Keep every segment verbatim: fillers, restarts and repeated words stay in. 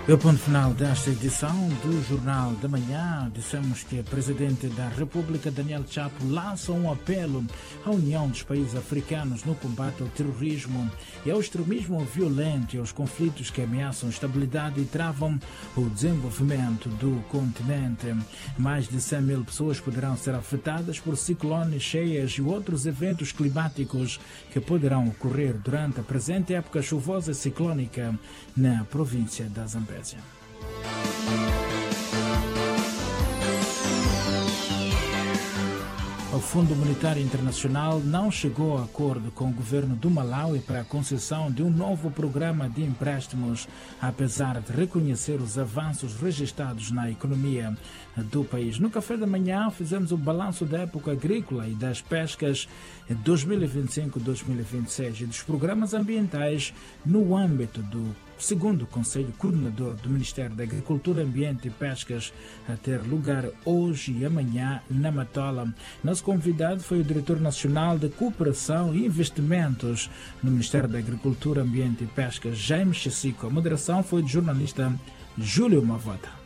E o ponto final desta edição do Jornal da Manhã. Dissemos que o Presidente da República, Daniel Chapo, lança um apelo à União dos Países Africanos no combate ao terrorismo e ao extremismo violento e aos conflitos que ameaçam a estabilidade e travam o desenvolvimento do continente. Mais de cem mil pessoas poderão ser afetadas por ciclones, cheias e outros eventos climáticos que poderão ocorrer durante a presente época chuvosa e ciclônica na província da Zambésia. O Fundo Monetário Internacional não chegou a acordo com o governo do Malawi para a concessão de um novo programa de empréstimos, apesar de reconhecer os avanços registrados na economia do país. No café da manhã fizemos o balanço da época agrícola e das pescas dois mil e vinte e cinco dois mil e vinte e seis e dos programas ambientais no âmbito do segundo Conselho Coordenador do Ministério da Agricultura, Ambiente e Pescas, a ter lugar hoje e amanhã na Matola. Nosso convidado foi o Diretor Nacional de Cooperação e Investimentos no Ministério da Agricultura, Ambiente e Pescas, Jaime Chissico. A moderação foi do jornalista Júlio Mavota.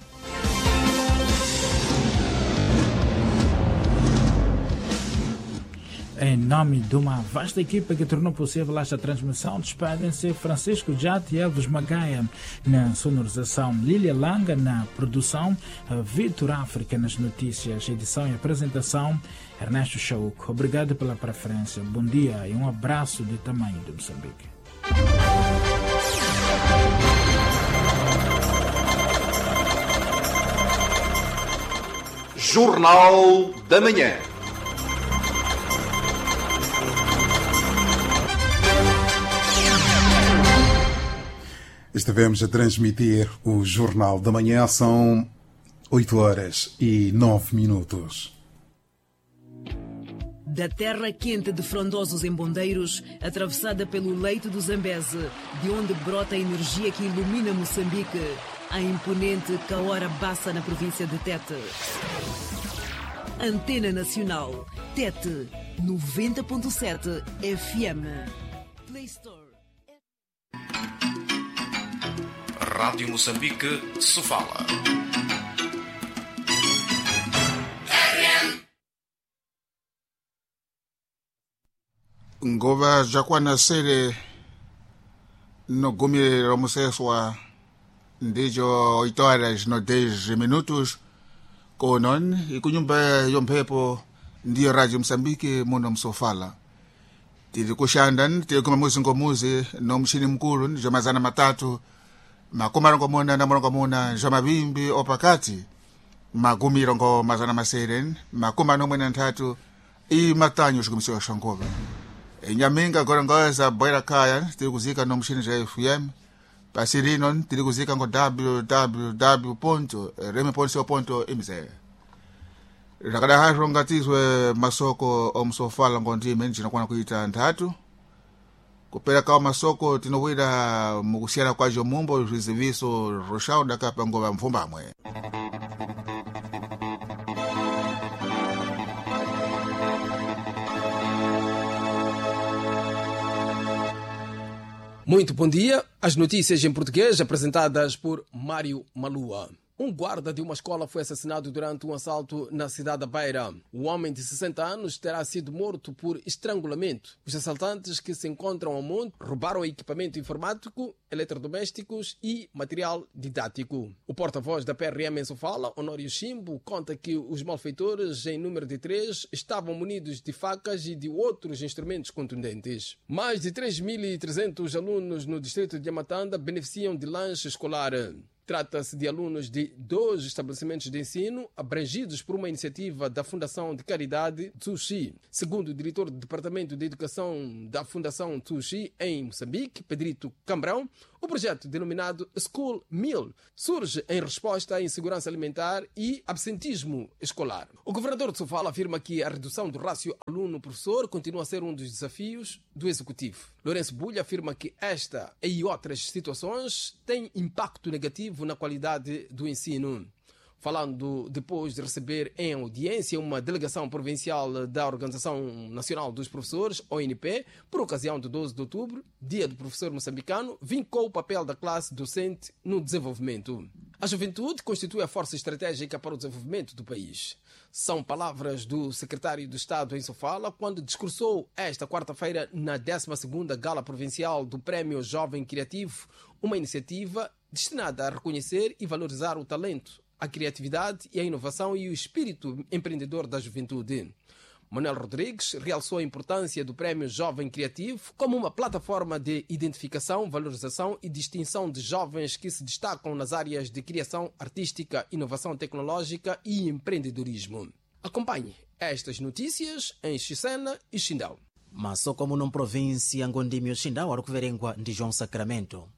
Em nome de uma vasta equipa que tornou possível esta transmissão, despedem-se Francisco Jati e Elvis Magaia na sonorização, Lília Langa na produção, Vitor África nas notícias, edição e apresentação, Ernesto Chauco. Obrigado pela preferência, bom dia e um abraço de tamanho de Moçambique. Jornal da Manhã. Estivemos a transmitir o Jornal da Manhã, são oito horas e nove minutos. Da terra quente de frondosos embondeiros, atravessada pelo leito do Zambeze, de onde brota a energia que ilumina Moçambique, a imponente Cahora Bassa na província de Tete. Antena Nacional, Tete, noventa ponto sete F M. Play Store. Rádio Moçambique, Sofala. Ngova jakwana sere no gumi romuseswa ndijo oito horas no dez minutos konon ikunyumba yomphepo ndiyo Radio Moçambique muno Msofala. Tiri kushanda tiri kuma muzi ngomuzi no mshini mkulu ndijo mazana matatu makumi arongomuna na murongomuna zwa mavimbi opakati makumi irongo mazana masere makumi anomwe na nthatu i matanyo xikumiso xa nkova enyaminga gorongoza boira kaya tiri kuzika no mshini ja F M pasi rino tiri kuzika ngo w w w ponto reme ponto ponto mz rakada hazvo ngatizwe masoko omsofala ngondime ndinokwana kuita nthatu kupera kawo masoko tinowira mukusiyana kwajo mumbo zviziviso roshauda kapa ngova mvumbamwe. Muito bom dia. As notícias em português apresentadas por Mário Malua. Um guarda de uma escola foi assassinado durante um assalto na cidade da Beira. O homem de sessenta anos terá sido morto por estrangulamento. Os assaltantes, que se encontram ao monte, roubaram equipamento informático, eletrodomésticos e material didático. O porta-voz da P R M em Sofala, Honório Chimbo, conta que os malfeitores, em número de três, estavam munidos de facas e de outros instrumentos contundentes. Mais de três mil e trezentos alunos no distrito de Amatanda beneficiam de lanche escolar. Trata-se de alunos de dois estabelecimentos de ensino abrangidos por uma iniciativa da Fundação de Caridade Tzu Chi. Segundo o diretor do Departamento de Educação da Fundação Tzu Chi em Moçambique, Pedrito Cambrão, o projeto denominado School Meal surge em resposta à insegurança alimentar e absentismo escolar. O governador de Sofala afirma que a redução do rácio aluno-professor continua a ser um dos desafios do executivo. Lourenço Bulha afirma que esta e outras situações têm impacto negativo na qualidade do ensino. Falando depois de receber em audiência uma delegação provincial da Organização Nacional dos Professores, O N P, por ocasião do doze de outubro, Dia do Professor Moçambicano, vincou o papel da classe docente no desenvolvimento. A juventude constitui a força estratégica para o desenvolvimento do país. São palavras do secretário de Estado em Sofala quando discursou esta quarta-feira na décima segunda Gala Provincial do Prémio Jovem Criativo, uma iniciativa destinada a reconhecer e valorizar o talento, a criatividade e a inovação e o espírito empreendedor da juventude. Manuel Rodrigues realçou a importância do Prémio Jovem Criativo como uma plataforma de identificação, valorização e distinção de jovens que se destacam nas áreas de criação artística, inovação tecnológica e empreendedorismo. Acompanhe estas notícias em Xisena e Xindau. Masoko muno mprovinsi ya Ngondimi Xindau ari kuverengwa ndi João Sacramento.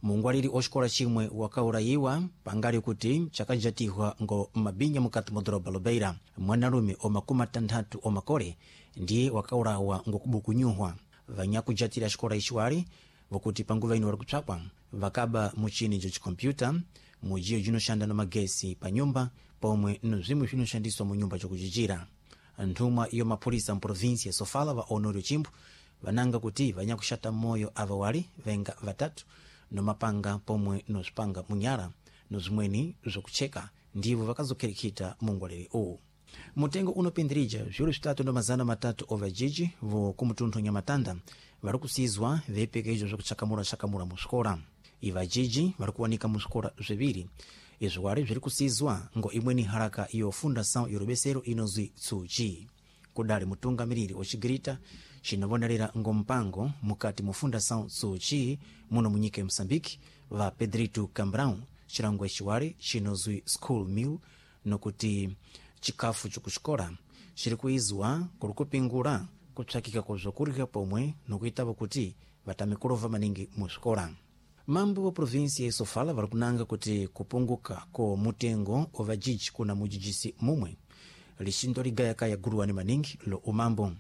Mungwaliri oxikola chimwe wakaurayiwa pangali kuti chakajatihwa ngo mabinya mukati mu doroba Lobeira. Mwanalume o makumi atanthatu omakole ndiye wakaurawa ngokubukunyuhwa. Vanyakujatira xikola ixiwali vokuti panguva ino wali kupsakwa vakaba muchini jo chikompyuta mujiyo jinoxanda na magesi pa nyumba pomwe no bzimwe bzinoxandiswa mu nyumba jokujijira. Nthumwa iyo mapholisa mprovinsi ya Sofala va Honório Chimbo vananga kuti vanyakuxata moyo ava wali venga vatatu nomapanga pomwe nozipanga munyala nozimweni zvokucheka ndivo vakazokherekhita mungwaliri uwu. Mutengo unopindirija zviwiri zvitatu ndo mazana matatu ovajiji vo kumutunthu Nyamatanda vari kusizwa veipekejo zvokuchakamura-chakamura muswikola. Ivajiji vari kuwanika muswikola zviviri izvo wari zviri kusizwa ngo imweni haraka iyo Fundação Yorubesero inozwi Tsuji. Kudali mutungamiriri ocigirita cinovonerera ngo mpango mukati mu Fundação Tsuji muno munyika ya Moçambique va Pedrito Cambrão cilango eciwali cinozwi School Meal nokuti chikafu chokuxikola ciri kuizwa kuri kupingula kupsakika kwa bzokurya pomwe nokuitavo kuti vatame kulova maningi muswikola. Mambo wa provinsi ya Sofala vari kunanga kuti kupunguka ko mutengo ovajiji kuna mujijisi mumwe lixindo ligayakaya guluwani maningi lo umambo.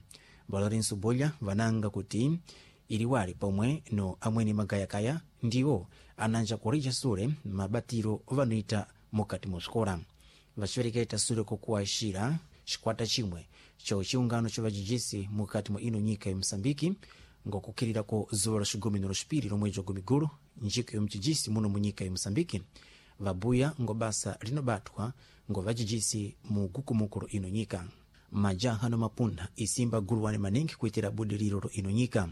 Valorenso Bolha vananga kuti iliwali pomwe no amweni magayakaya ndiwo ananja kurija sule mabatiro ovanoita mukati muswikola. Vacivereketa sule kokuwaxira xikwata chimwe cho chiungano cho vajijisi mukati mwa ino nyika ya Moçambique ngokukhirira ko zuwa la xigumi na lwexipiri lomwedzi wa gumigulu njiko ya mcijisi muno mu nyika ya Moçambique vabuya ngo basa linobatwa ngo vajijisi mu gukumukulo ino nyika. Majaha no mapuntha isimba guluwani maningi kuitira budiriro lo ino nyika.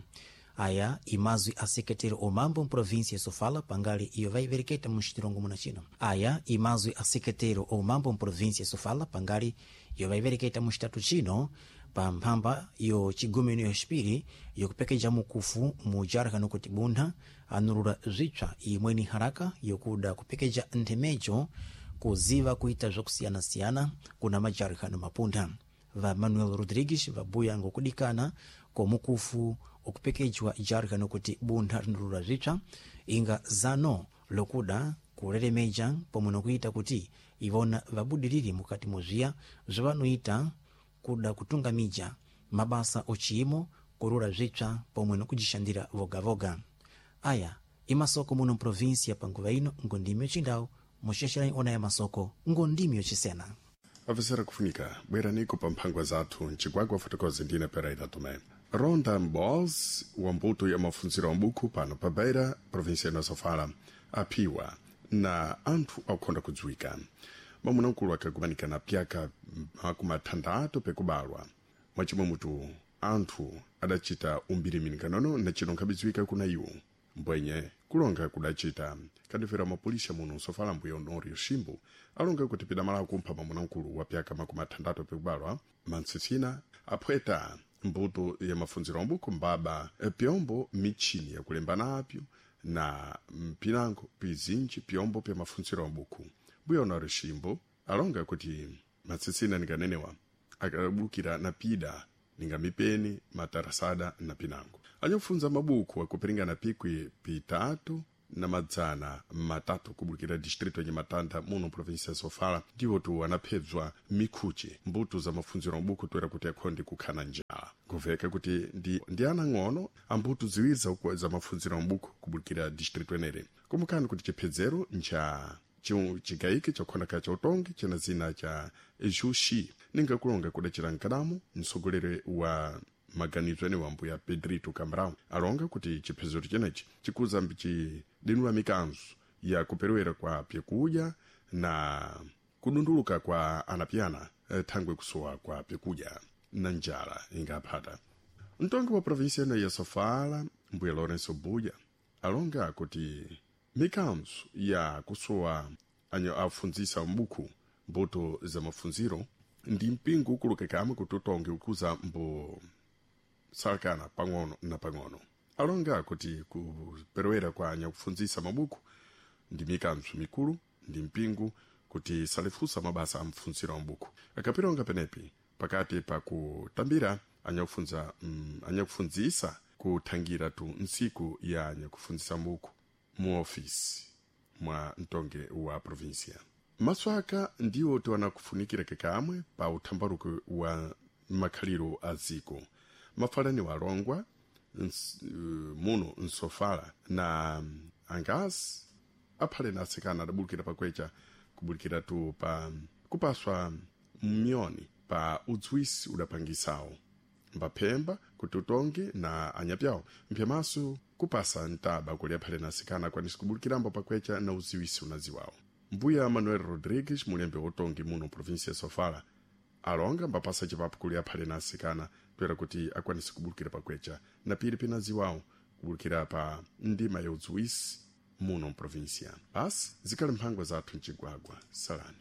Aya imazwi a sekretero omambo mprovinsi ya Sofala pangali iyo vaivereketa muxitilongo muna chino. Aya imazwi a sekretero omambo mprovinsi ya Sofala pangali iyo vaivereketa muxitatu chino pa mphamba yo chigumeno ya xipiri yokupekeja mukufu mujarha nokuti buntha anulula zwipsa imweni haraka yokuda kupekeja nthemejo kuziva kuita zvakusiyana-siyana kuna majarha no mapuntha. Va Manuel Rodrigues vabuya ngokudikana komukufu okupekejwa jarha nokuti buntha rinulula zwipsa inga zano lokuda kuleremeja pomwe nokuita kuti ivona vabudirire mukati muzviya zvavanoita kuda kutungamija mabasa ochiyimo kurura zvipsa pomwe nokujixandira voga-voga. Aya imasoko muno mprovinsi panguva ino ngondimi yochindau muxexerani ona ya masoko ngondimi yocisena. Avisera kufunika bweraniko pa mphangwa zathu mcigwagwa fotokozi ndine Pereira Tomé. Ronda Mbos wa mbuto ya mafunziro a mbuku pano pa Beira, província ya Sofala, aphiwa na anthu akukhonda kudziwika. Mamunamkulu akakumanika na pyaka makumi athandathu pekubalwa. Mwachimwe mutu anthu adacita umbiri-minikanono na cino nkhabidziwika kuna iwo. Mbwenye kulonga kudacita kandifera mapolisa muno Sofala mbuya Honório Ximbo alonga kuti pidamala kumpha mamunamkulu wa pyaka makumi athandathu pekubalwa mantsitsina aphweta mbuto ya mafunziro ambuku mbaba pyombo michini yakulemba napyo na mpinango pizinji pyombo pya mafunziro ambuku. Mbuya Honório Ximbo alonga kuti matsitsina ninganenewa akabulukira na pida ninga mipeni matarasada na pinango anyakufunza mabuku akupiringana pikwi pitatu na madzana matatu kubulukira distrito ya Nhamatanda muno província ya Sofala ndiwo tu anaphedzwa mikhuchi mbuto za mafunziro ambuku toera kuti akhonde kukhana njala kuveka kuti ndi, ndi ana ng'ono ambuto ziwiri za, za mafunziro ambuku kubulukira distrito enere kumukani kuti chiphedzero ncha Chigaiki chakukhonaka cha utongi china zina cha Juxi, ninga kulonga kudacira nkadamu mtsogoleri wa maganizo ene wambu ya Pedrito Cabral alonga kuti chiphezero chenechi chikuza mbichidinula mikanzo ya kuperewera kwa pyakudya na kudunduluka kwa anapyana thangwe kusowa kwa pyakudya na njala ingaphata. Mtongi wa provinsia ino ya Sofala, mbuya Lourenço Buya, alonga kuti mikanzo ya kusowa anyo afunzisa mbuku mbuto za mafunziro ndi mpingo ukulukekame kuti utongi ukuza mbo salakana pang'ono na pang'ono. Alonga kuti kuperewera kwa anyakufunzisa mabuku ndi mikanzo mikulu ndi mpingo kuti salifusa mabasa a mfunziro wa mbuku akapilonga penepi pakati pa kutambira anyakufunza mm, anyakufunzisa kuthangira tu ntsiku ya anyakufunzisa mbuku mu ofisi mwa mtonge wa provinsia. Maswaka ndiwo tiwanakufunikira kekamwe pa uthambaruko wa makhaliro a ziko mafalani walongwa ns, uh, muno nsofala na angasi aphale na atsikana adabulukira pakwecha kubulikira tu pa kupaswa myoni pa udzwisi udapangisawo mbaphemba kuti utongi na anyapyawo mphyamaso kupasa ntaba kuli aphale na atsikana akwanise kubulukirambo pakwecha na uziwisi unaziwawo. Mbuya Manuel Rodrigues, mulembe wotongi muno provinsia ya Sofala, alonga mbapasa chipapu kuli aphale na atsikana toera kuti akwanise kubulukira pakwecha na pili pinaziwawo kubulukira pa ndima ya udziwisi muno mprovinsia. Basi zikhali mphangwa zathu mchigwagwa. Salani.